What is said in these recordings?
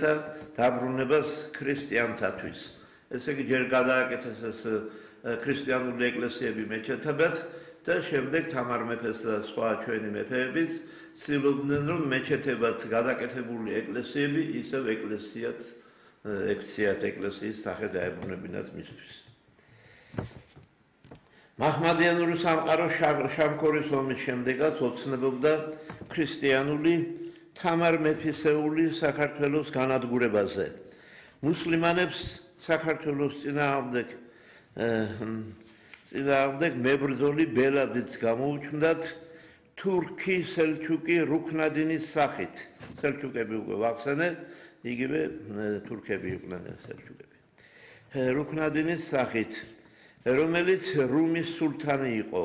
ქრისტიანთა დაბრუნებას ქრისტიანთათვის. ესე იგი ჯერ გადააკეთეს ეს ქრისტიანული ეკლესიები მეჩეთებად და შემდეგ თამარ მეფეს და სხვა ჩვენი მეფეებიც ცდილობდნენ რომ მეჩეთებად გადაკეთებული ეკლესიები ისევ ეკლესიად ექციათ ეკლესიის სახე დაებრუნებინათ მისთვის. მაჰმადიანური სამყარო შამქორის ომის შემდეგაც ოცნებობდა ქრისტიანული თამარ მეფისეული საქართველოს განადგურებაზე. მუსლიმანებს საქართველოს წინააღმდეგ მებრძოლი ბელადიც გამოუჩნდათ თურქი სელჩუკი რუქნადინის სახით. სელჩუკები უკვე ვახსენე, იგივე თურქები იყვნენ სელჩუკები. რუქნადინის სახით, რომელიც რუმის სულთანი იყო.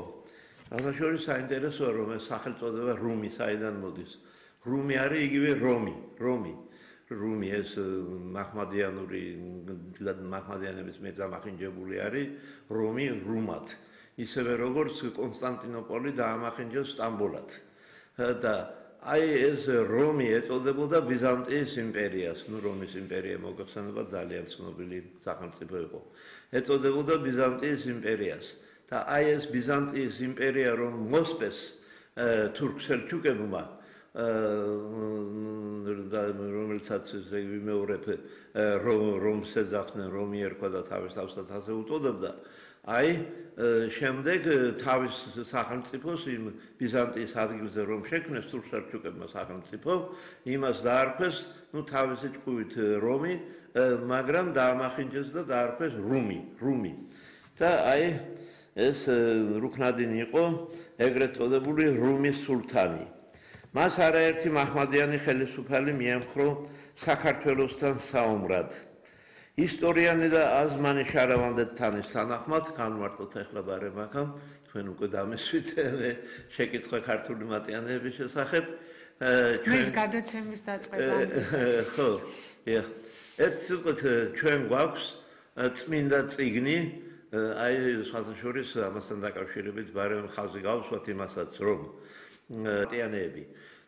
აღაშორი საინტერესოა რომ ეს სახელწოდება რუმი საიდან მოდის. რუმი არის იგივე რომი ეს მაჰმადიანების მედამახინჯებული არის რომი რუმად. ისევე როგორც კონსტანტინოპოლი დაამახინჯეს სტამბოლად. და აი ეს რომი ეწოდებოდა ბიზანტიის იმპერიას. რომის იმპერია მოგეხსენება ძალიან ცნობილი სახელმწიფო იყო. ეწოდებოდა ბიზანტიის იმპერიას. და აი ეს ბიზანტიის იმპერია რომ მოსპეს თურქ-სელჩუკებმა რომელსაც ვიმეორებ რომს ეძახდნენ რომი ერქვა და თავის თავსაც ასე უწოდებდა. აი შემდეგ თავის სახელმწიფოს იმ ბიზანტიის ადგილზე რომ შექმნეს თურქ-სელჩუკებმა სახელმწიფო იმას დაარქვეს თავისი ჭკუით რომი მაგრამ დაამახინჯეს და დაარქვეს რუმი. და აი ეს რუქნადინი იყო ეგრეთ წოდებული რუმის სულთანი. მას არაერთი მაჰმადიანი ხელისუფალი მიემხრო საქართველოსთან საომრად. ისტორიანი და აზმანი შარავანდეთთანის თანახმად განვარტოთ ახლა ბარემაქამ თქვენ უკვე დამესვით შეკითხვა ქართული მატიანეების შესახებ. ეს გადაცემის დაწყება. ხო, ერთ სიტყვით ჩვენ გვაქვს წმინდა წიგნი აი სხვათა შორის ამასთან დაკავშირებით ბარემ ხაზი გავსვათ იმასაც რომ მატიანეები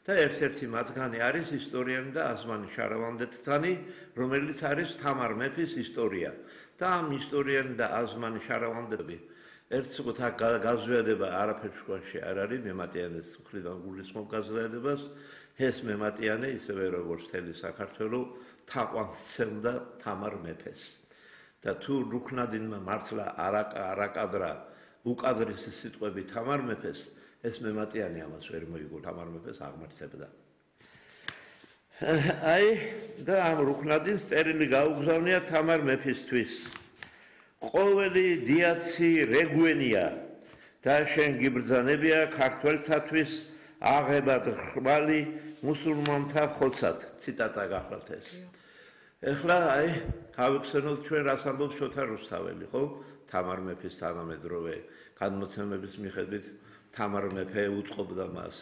და ერთ-ერთი მათგანი არის ისტორიანი და აზმანი შარავანდეთთანი, რომელიც არის თამარ მეფის ისტორია. და ამ ისტორიანი და აზმანი შარავანდები ერთ სიტყვით გაზვიადება არაფერში არ არის მემატიანეს მხრიდან გულისხმობ გაზვიადებას. ეს მემატიანე ისევე როგორც მთელი საქართველო თაყვანს სცემდა თამარ მეფეს. და თუ რუქნადინმა მართლა არაკადრა უკადრისი სიტყვები თამარ მეფეს ეს მემატიანი ამას ვერ მოიგო თამარ მეფეს აღმართებდა. აი და ამ რუქნადინს წერილი გაუგზავნია თამარ მეფისთვის. ყოველი დიაცი რეგვენია და შენ გიბრძანებია ქართველთათვის აღებად ხვალი მუსულმანთა ხოცად. ციტატა გახლავთ ეს. ეხლა აი გავიხსენოთ ჩვენ რას ამბობს შოთა რუსთაველი, ხო? თამარ მეფის თანამედროვე განმოცემების მიხედვით თამარ მეფე უწყობდა მას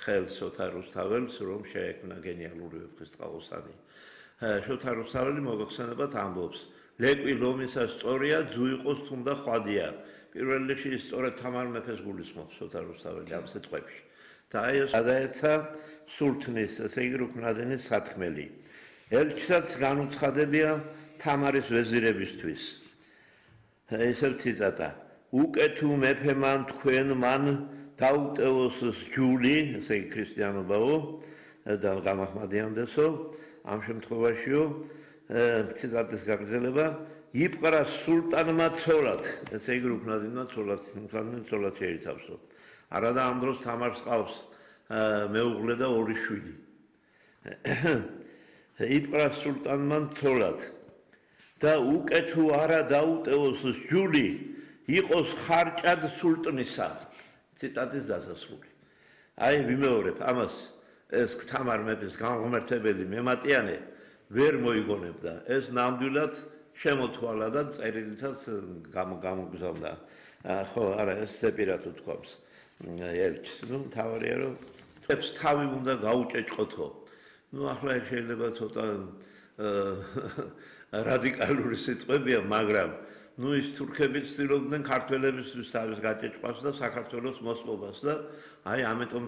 ხელს შოთა რუსთაველს რომ შეექმნა გენიალური ვეფხისტყაოსანი. შოთა რუსთაველი მოგეხსენებათ ამბობს ლეკვი ლომისა სწორია ძუ იყოს თუნდა ხვადია. პირველ რიგში სწორედ თამარ მეფეს გულისხმობს შოთა რუსთაველი ამ სიტყვებში. და აი ეს გადაეცა სულთნის ესე იგი რუქნადინის სათქმელი. ელჩსაც განუცხადებია თამარის ვეზირებისთვის. ესეც ციტატა. უკეთუ მეფემან თქვენ მან დაუტევოს ჯული, ესე იგი ქრისტიანობაო და გამაჰმადიანდესო, ამ შემთხვევაშიო ციტატის გაგრძელება იპყრა სულტანმა ცოლად, ესე იგი რუქნადინმა ცოლად შეიცავსო. არა და ამ დროს თამარს ყავს მეუღლე და ორი შვილი. იპყრა სულტანმა ცოლად და უკეთუ არა დაუტევოს ჯული იყოს ხარჭად სულტნისა. ციტატის დასასრული. აი ვიმეორებ ამას ეს თამარ მეფის განღმერთებელი მემატიანე ვერ მოიგონებდა. ეს ნამდვილად შემოთვალა და წერილითაც გამოგზავნა. ხო, არა, ეს სეპირად უთქვამს. ელჩს, თავარია რომ წებს თავი უნდა გაუჭეჭყოთო. ახლა ეს შეიძლება ცოტა რადიკალური სიტყვებია, მაგრამ ის თურქები ცდილობდნენ ქართველებისთვის თავის გაჭეჭყვას და საქართველოს მოსპობას და აი ამიტომ